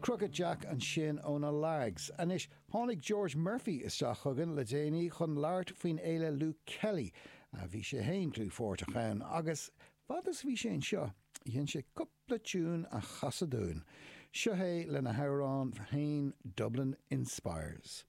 Crooked Jack ansin ó na Lags. Anois, tháinig George Murphy isteach chugainn le déanaí chun labhairt faoin fhéile Luke Kelly. Bhí sé fhéin dlúthpháirteach ann agus fad is a bhí sé anseo, dhein sé cúpla tiún a chasadh dúinn. Seo é lena hamhrán féin Dublin Inspires.